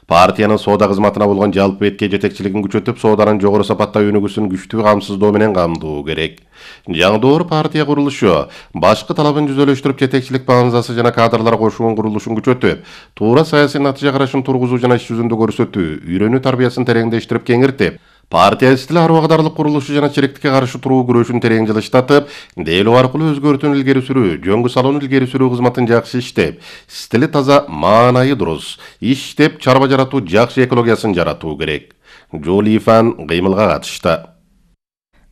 Партиянын соода кызматына болгон жалпы бетке жетекчилигин күчөтүп, сооданын жогору сапаттагы өнүгүүсүн күчтүү камсыздоо менен камдоо керек. Жаңдоор партия курулушу башкы талабын жүзөлөштүрүп, жетекчилик баамзасы жана кадрлар кошуун курулушун күчөтүп, туура саясий натыйжа карашын тургузуу жана иш жүзүндө көрсөтүү, үйрөнүү тарбиясын тереңдештирип кеңиртип, партия стили ар убагыдарлык курулушу жана черектикке каршы туруу күрөшүн терең жылыштатып, дейлөө аркылуу өзгөртүүнү илгери сүрүү, жөнгө салууну илгери сүрүү кызматын жакшы иштеп, стили таза, маанайы дурус иштеп, чарба жаратуу, жакшы экологиясын жаратуу керек. Жолифан кыймылга катышты.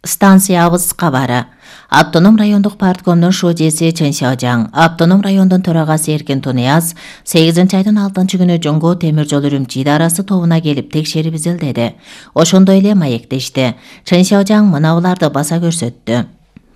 Станциябыз кабары. Автоном райондук парткомдун шожеси Чен Сяожаң, автоном райондун төрагасы Эркин Тунияз 8-айдын 6-күнү Жоңго темир жол Үрүмчү идарасы тобуна келип текшерип изилдеди. Ошондой эле маектешти. Чен Сяожаң мынабуларды баса көрсөттү.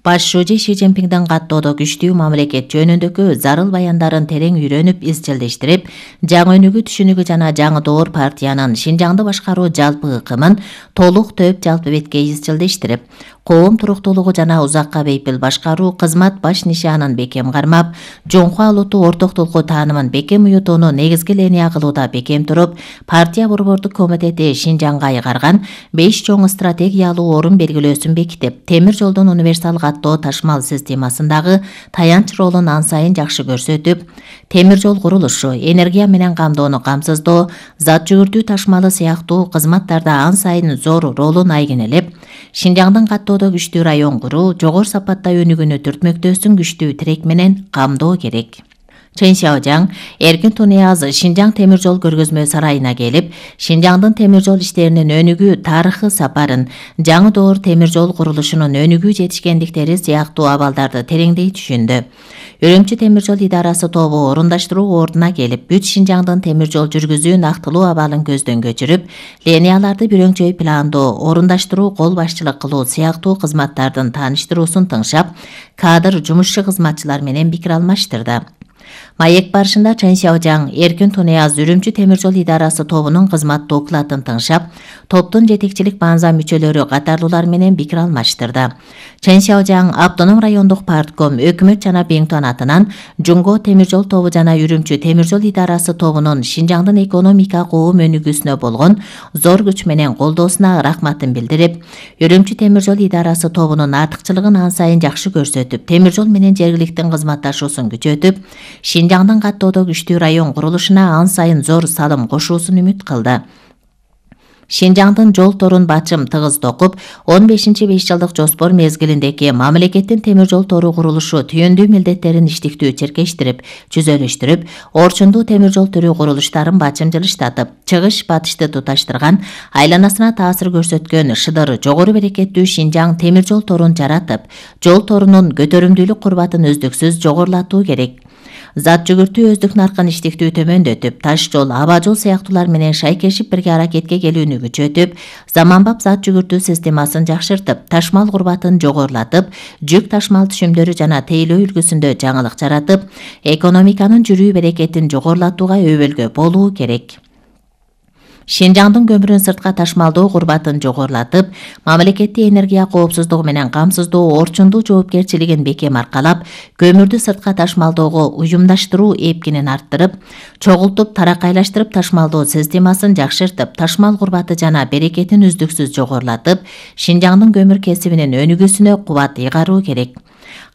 Баш шожи Ши Цзиньпиңдин каттоодо күчтүү мамлекет жөнүндөгү зарыл баяндарын терең үйрөнүп, изчилдештирип, жаңы өнүгүү түшүнүгү жана жаңы партиянын Шинжаңды башкаруу жалпы ыкымын толук төп жалпы бетке изчилдештирип, коом туруктуулугу жана узакка бейпил башкаруу кызмат баш нишанын бекем кармап, жоңку алууту ортоктулуку таанымын бекем уютууну негизги линия кылууда бекем туруп, партия борбордук комитети Шинжаңга айгарган 5 чоң стратегиялуу орун белгилөөсүн бекитип, темир жолдун универсал каттоо ташмал системасындагы таянч ролун ан сайын жакшы көрсөтүп, темир жол курулушу, энергия менен камдоону камсыздоо, зат жүгүртүү ташмалы сыяктуу кызматтарда ан сайын зор ролун айгинелеп, Шинжаңдын каттоодо күчтүү район куруу, жогору сапатта өнүгүүнү түртмөктөөсүн күчтүү тирек менен камдоо керек. Чен Сяожаң Эркин Тунияз Шинжаң темир жол көргөзмө сарайына келип, Шинжаңдын темир жол иштеринин өнүгүү тарыхы сапарын, жаңы доор темир жол курулушунун өнүгүү жетишкендиктери сыяктуу абалдарды тереңдей түшүндү. Үрүмчү темир жол идарасы тобу орундаштыруу ордуна келип, бүт Шинжаңдын темир жол жүргүзүү актылуу абалын көздөн көчүрүп, линияларды бирөңчөй пландоо, орундаштыруу, кол башчылык кылуу сыяктуу кызматтардын тааныштыруусун тыңшап, кадр жумушчу кызматчылар менен пикир алмаштырды. Маек барышында Чен Сяожаң Эркин Тунияз Үрүмчү темир жол идарасы тобунун кызмат докладын тыңшап, топтун жетекчилик баанза мүчөлөрү катарлуулар менен пикир алмаштырды. Чен Сяожаң автоном райондук партком өкмөт жана Беңтон атынан Жоңго темир жол тобу жана Үрүмчү темир жол идарасы тобунун Шинжаңдын экономика коом өнүгүүсүнө болгон зор күч менен колдоосуна рахматын билдирип, Үрүмчү темир жол идарасы тобунун артыкчылыгын ан сайын жакшы көрсөтүп, темир жол менен жергиликтин кызматташуусун күчөтүп, Шинжаңдын каттоодо күчтүү район курулушуна ан сайын зор салым кошуусун үмүт кылды. Шинжаңдын жол торун бачым тыгыз токуп, 15-5 жылдык жоспор мезгилиндеги мамлекеттин темир жол тору курулушу түйүндүү милдеттерин иштиктүү черкештирип, жүзөлөштүрүп, орчундуу темир жол түрү курулуштарын бачым жылыштатып, чыгыш батышты туташтырган, айланасына таасир көрсөткөн шыдыр жогору берекеттүү Шинжаң темир жол торун жаратып, жол торунун көтөрүмдүүлүк курбатын үздүксүз жогорулатуу керек. Зат жүгүртүү өздүк наркын иштиктүү төмөндөтүп, таш жол, аба жол сыяктуулар менен шайкешип бирге аракетке келүүнү күчөтүп, заманбап зат жүгүртүү системасын жакшыртып, ташмал курбатын жогорулатып, жүк ташмал түшүмдөрү жана тейлөө үлгүсүндө жаңылык жаратып, экономиканын жүрүү берекетин жогорулатууга өбөлгө болуу керек. Шинжаңдын көмүрүн сыртка ташмалдоо курбатын жогорулатып, мамлекеттик энергия коопсуздугу менен камсыздоо орчундуу жоопкерчилигин бекем аркалап, көмүрдү сыртка ташмалоого уюмдаштыруу эпкинин арттырып, чогултуп, таракайлаштырып ташмалдоо системасын жакшыртып, ташмал курбаты жана берекетин үздүксүз жогорулатып, Шинжаңдын көмүр кесибинин өнүгүүсүнө кубат ыйгаруу керек.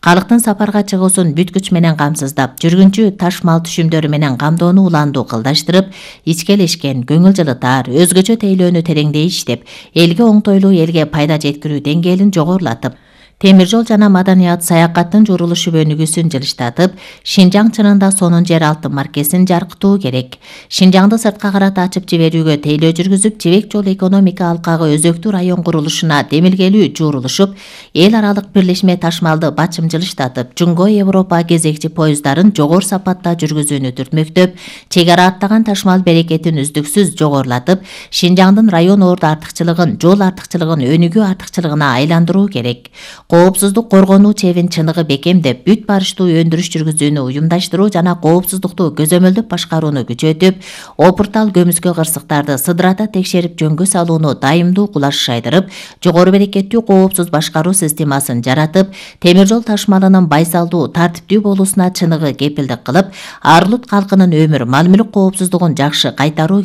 Калктын сапарга чыгуусун бүт күч менен камсыздап, жүргүнчү ташмал түшүмдөрү менен камдоону уландуу кылдаштырып, ичкелешкен, көңүл жылытар, өзгөчө тейлөөнү тереңдей иштеп, элге оңтойлуу, элге пайда жеткирүү деңгээлин жогорулатып, темир жол жана маданият саякаттын журулушу өнүгүүсүн жылыштатып, Шинжаң чынында сонун жер алтын маркесин жаркытуу керек. Шинжаңды сыртка карата ачып жиберүүгө тейлөө жүргүзүп, жибек жол экономика алкагы өзөктүү район курулушуна демилгелүү журулушуп, эл аралык бирлешме ташмалды бачым жылыштатып, Жоңго Европа кезекчи поезддарын жогору сапатта жүргүзүүнү түртмөктөп, чек ара аттаган ташмал берекетин үздүксүз жогорулатып, Шинжаңдын район орду артыкчылыгын, жол артыкчылыгын өнүгүү артыкчылыгына айландыруу керек. Коопсуздук коргонуу чебин чыныгы бекемдеп, бүт барыштуу өндүрүш жүргүзүүнү уюмдаштыруу жана коопсуздукту көзөмөлдөп башкарууну күчөтүп, опуртал көмүскө кырсыктарды сыдырата текшерип жөнгө салууну дайымдуу кулаш шайдырып, жогору берекеттүү коопсуз башкаруу системасын жаратып, темир жол ташмалынын байсалдуу, тартиптүү болуусуна чыныгы кепилдик кылып, Арлут калкынын өмүр, мал-мүлк коопсуздугун жакшы кайтаруу